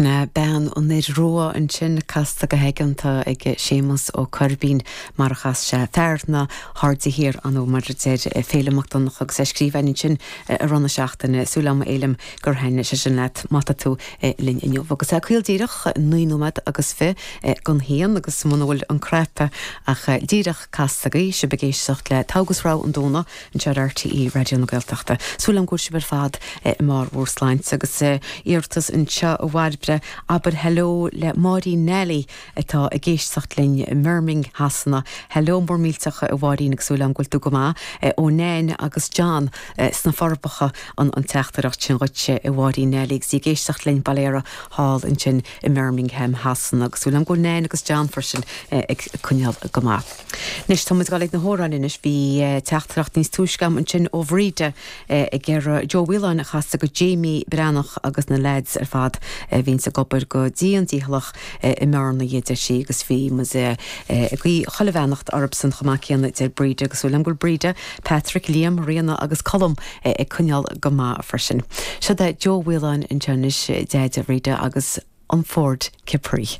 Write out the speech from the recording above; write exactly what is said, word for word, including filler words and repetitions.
Sin é Bean an Fhir Rua ansin casta go haigeanta ag Séamus Ó Coirbín mar a chas sé fear na hAirde Thiar an mar a deir Féilim Mac Donncha agus é scríofa ansin i rith na seachtaine súil agam a Fhéilim gur thaitin sé sin leat má tá tú linn inniu. Agus é caol díreach naoi nóiméad agus fiche don haon agus muna bhfuil an cnaipe ach díreach casta agaibh sibh ag éisteacht le Togha agus Rogha an Domhnaigh anseo ar RTÉ Raidió na Gaeltachta. Súil agam go bhfuil sibh ar fad i mbarr bhur sláinte agus iarratas anseo a Bhairbre abair hello le Máirín Nelly atá ag éisteacht linn i mBirmingham Shasana. Hello mór millteach a Mháirín agus súil agam go bhfuil tú go maith ó Nain agus John sna Forbacha an an teachtaireacht sin dhuitse a Mháirín Nelly agus í ag éisteacht linn bail ó Dhia thall ansin i mBirmingham Shasana agus súil agam go bhfuil Nain agus John freisin ag coinneáil go maith. Anois tá muid ag gabháil na hamhráin anois bhí teachtaireacht níos túisce ansin ó Bhríde ag iarraidh Joe Whelan a chasadh go Jamie Breathnach agus na lads ar fad a bhíonn ag obair go dian dícheallach i mBearna deir sí agus bhí muid ag guí chuile bheannacht orthusan chomh maith céanna deir Bríde agus súil go bhfuil Bríde, Patrick, Liam, Ríona agus Colm ag coinneáil go maith freisin. Seo é Joe Whelan anseo anois deir Bríde agus an Ford Capri.